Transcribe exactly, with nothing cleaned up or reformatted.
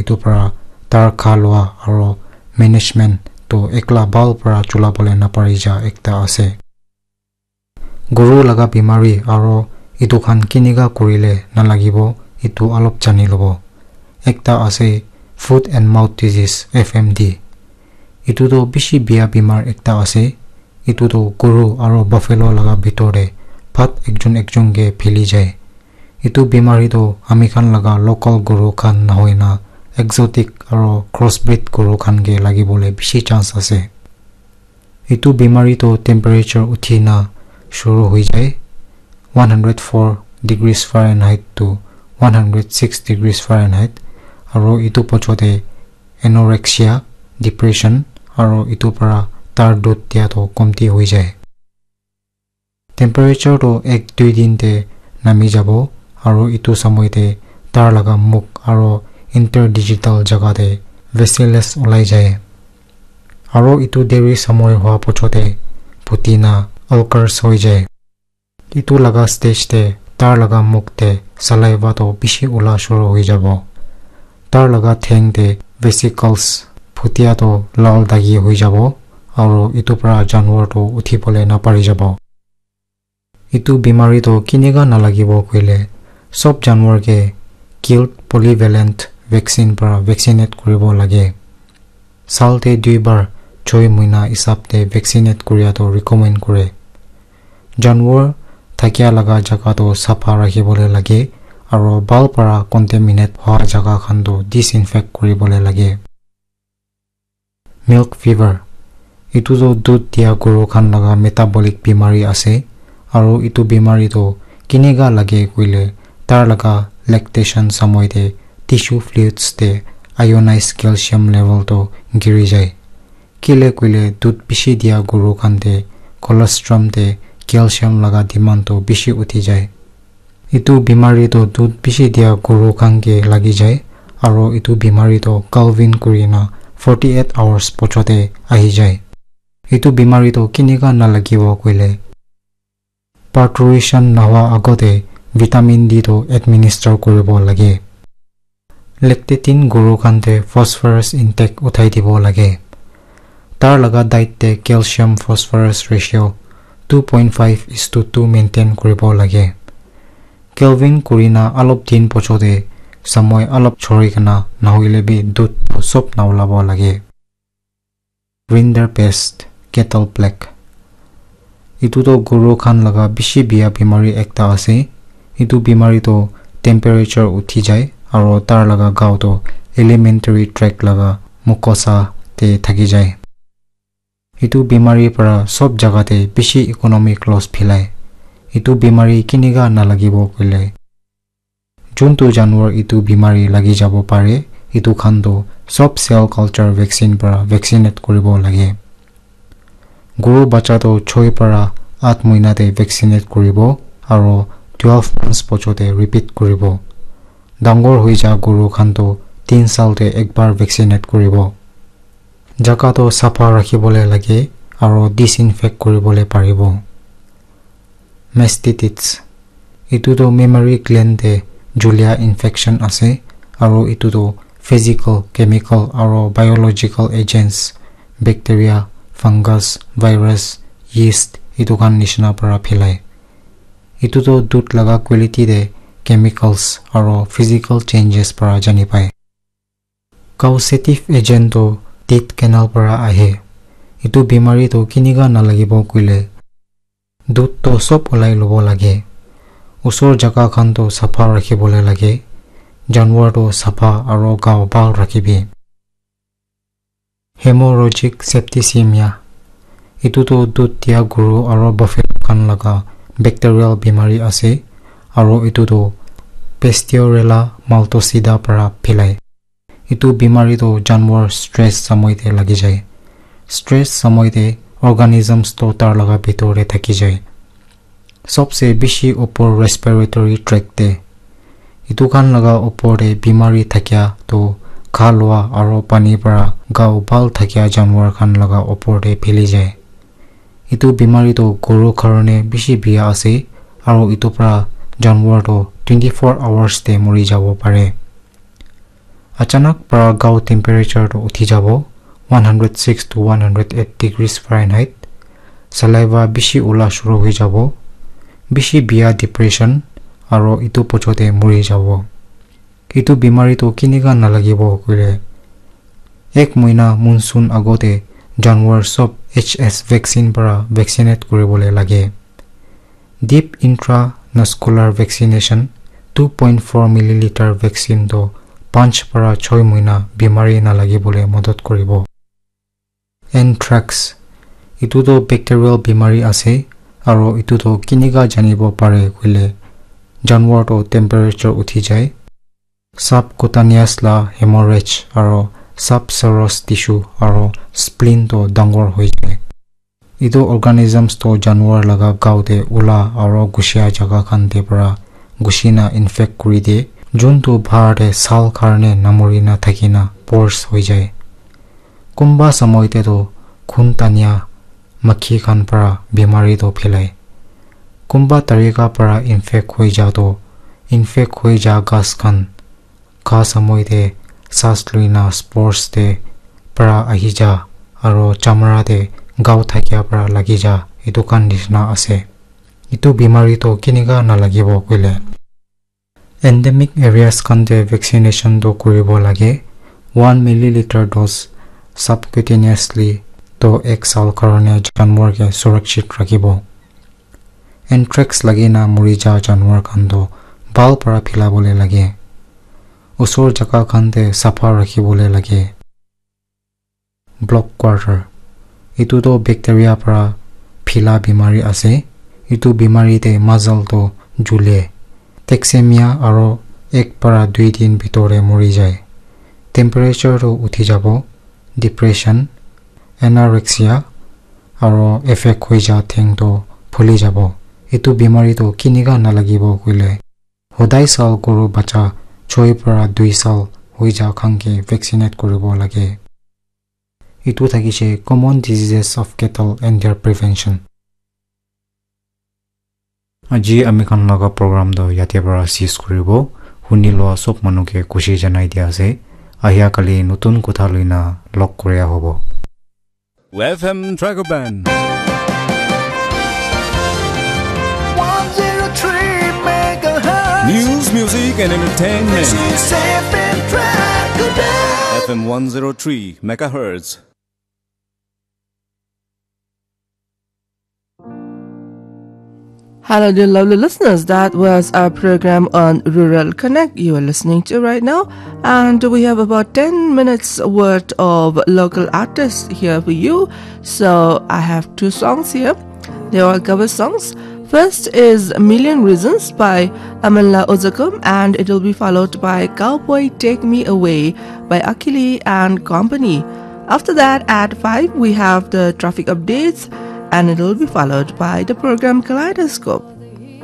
Etu para tar kha lua aro management toh ekla bhal para chula bole napari ja ekta ase. Guru laga bimari aro etu khan kinika kurile nalagibo, etu alop jani lobo. Ekta ase foot and mouth disease, F M D. Etu toh bishi bia bimar ekta ase. Etu toh guru aro buffalo laga bitor te phat ekjon ekjon ke phili jai. Etu bimari toh ami khan laga local guru khan nahoina exotic aro crossbreed guru khan ke lagibole bishi chance ase. Etu bimari toh temperature uthi na shuru hoi jai. One hundred four degrees Fahrenheit to one hundred six degrees Fahrenheit, aro etu pochote anorexia, depression, aro etu para tar dut dia toh komti hoi jai. Temperature toh ek dui din te nami jabo, aro etu samoi te tar laga muk aro interdigital jaga te vesicles olai jai. Aro etu deri samoi hua pochote phuti na ulcers hoi jai. Etu laga stage te tar laga muk te saliva toh bishi ula shuru hoi jabo. Tar laga theng te vesicles phutia toh lal dagi hoi jabo, aro etu para janwar toh uthi bole napari jabo. Etu bimari toh kinika nalagibo koile, sob janwar ke killed polyvalent vaccine para vaccinate kuribo lage. Sal te dui bar choi muina hisab te vaccinate kuria toh recommend kure. Janwar thakia laga jaga toh sapha rakhibole lage, aro bhal para contaminate hoa jaga khan toh disinfect kuribole lage. Milk fever. Etu toh dut dia guru khan laga metabolic bimari ase, aro etu bimari toh kinika lage koile tar laga lactation samoi te tissue fluids te ionized calcium level toh giri jai. Kile koile dut bishi dia guru khan te colostrum te calcium laga demand toh bishi uthi jai. Etu bimari toh dut bishi dia guru khan ke lagi jai, aro etu bimari toh calving kurina forty eight hours pochote ahi jai. Etu bimari toh kinika nalagibo koile, parturition nahoa agote vitamin D toh administer kuribo lage. Lactating guru khan te phosphorus intake uthai dibo lage. Tar laga diet te calcium phosphorus ratio two point five is to two maintain kuribo lage. Calving kurina alop din pochote samoi alop chori kena nahoile bi dut sob naulabo lage. Rinderpest, cattle plague. Etu toh guru khan laga bishi bia bimari ekta ase. Etu bimari toh temperature uthi jai aro tar laga gao toh alimentary tract laga mucosa te thaki jai. Etu bimari para sob jaga te bishi economic loss philai. Etu bimari kinika nalagibo koile, juntu janwar etu bimari lagi jabo pare, etu khan toh sob cell culture vaccine para vaccinate kuribo lage. Guru bacha toh choi para at moina te vaccinate kuribo aro twelve months pochote repeat kuribo. Dangor hoi ja guru khan toh tin sal te ekbar vaccinate kuribo. Jaga toh sapha rakhibole lage aro disinfect kuribole paribo. Mastitis. Etu toh mammary gland te julia infection ase, aro etu toh physical, chemical aro biological agents, bacteria, fungus, virus, yeast, etu khan nishina para philai. Etu toh dut laga quality te chemicals aro physical changes para jani pai. Causative agent toh teat canal para ahe. Etu bimari toh kinika nalagibo koile, dut toh sob ulai lobo lage. Usor jaga khan toh sapha rakhibole lage. Janwar toh sapha aro gao bhal rakhibi. Hemorrhagic septicemia. Etu toh dut dia guru aro buffalo khan laga bacterial bimari ase, aro etu toh Pasteurella maltosida para philai. Etu bimari toh janwar stress samoi te lagi jai. Stress samoi te organisms toh tar laga bitor te thaki jai. Sobse bishi upor respiratory tract te. Etu khan laga upor te bimari thakia toh kha lua aro pani para gao bhal thakia janwar khan laga upor te phili jai. Etu bimari toh guru karone bishi bia ase, aro etu para janwar toh twenty four hours te mori jabo pare. Achanak para gao temperature to uthi jabo, one hundred six to one hundred eight degrees Fahrenheit. Saliva bishi ula shuru hoi jabo. Bishi bia depression aro itu pochote muri jabo. Itu bimari to kinika nalagibo koile, ek moina monsoon agote janwar sob H S vaccine para vaccinate kuribole lage. Deep intramuscular vaccination two point four milliliter vaccine to panch para choi moina bimari nalagibole modot koribo. Anthrax, itu to bacterial bimari ase, aro itu to kinika janibo pare koile, janwar to temperature uthi jai, subcutaneous la hemorrhage aro subserous tissue aro spleen to dangor hoi jai. Itu organisms to janwar laga gao te ula aro gushia jaga khan te para gushina infect kuri de, juntu bahar te sal karne namorina thakina pores hoi jai. Kumba samoi te to khun tania makhi khan para bimari to phelai. Kumba tarika para infect hoi ja to, infect hoi ja gas khan kha samoi te sas luina spores te para ahi ja aro chamra te gao thakia para lagi ja, itu khan nishina ase. Itu bimari to kinika nalagibo koile, endemic areas khan te vaccination to kuribo lage. One milliliter dose subcutaneously to ek sal karone janwar ke surakshit rakhibo. Anthrax lagina muri ja janwar khan to bhal para philabole lage. Usor jaga khan te sapha rakhibole lage. Block quarter, itu to bacteria para phila bimari ase. Itu bimari te majal to jule, thalassemi aro ek para dui din bitor te muri jai. Temperature to uthi jabo, depression, anorexia aro effect hoi ja theng to phuli jabo. Itu bimari to kinika nalagibo koile, hodai sal guru bacha choi para dui sal hoi ja khan ke vaccinate kuribo lage. Itu thakishe common diseases of cattle and their prevention. Aji ami khan laga program to yate para sis kuribo. Huni loa sob manu ke khushi janai dia ase. Ahia kali notun kotha loina log koria hobo. F M Dragon Band. one zero three megahertz. News, music, and entertainment. This is F M Dragon Band. F M one zero three megahertz. Hello, dear lovely listeners. That was our program on Rural Connect you are listening to right now. And we have about ten minutes worth of local artists here for you. So I have two songs here. They're all cover songs. First is Million Reasons by Amala Ozakum, and it will be followed by Cowboy Take Me Away by Akili and Company. After that, at five, we have the traffic updates, and it will be followed by the program Kaleidoscope.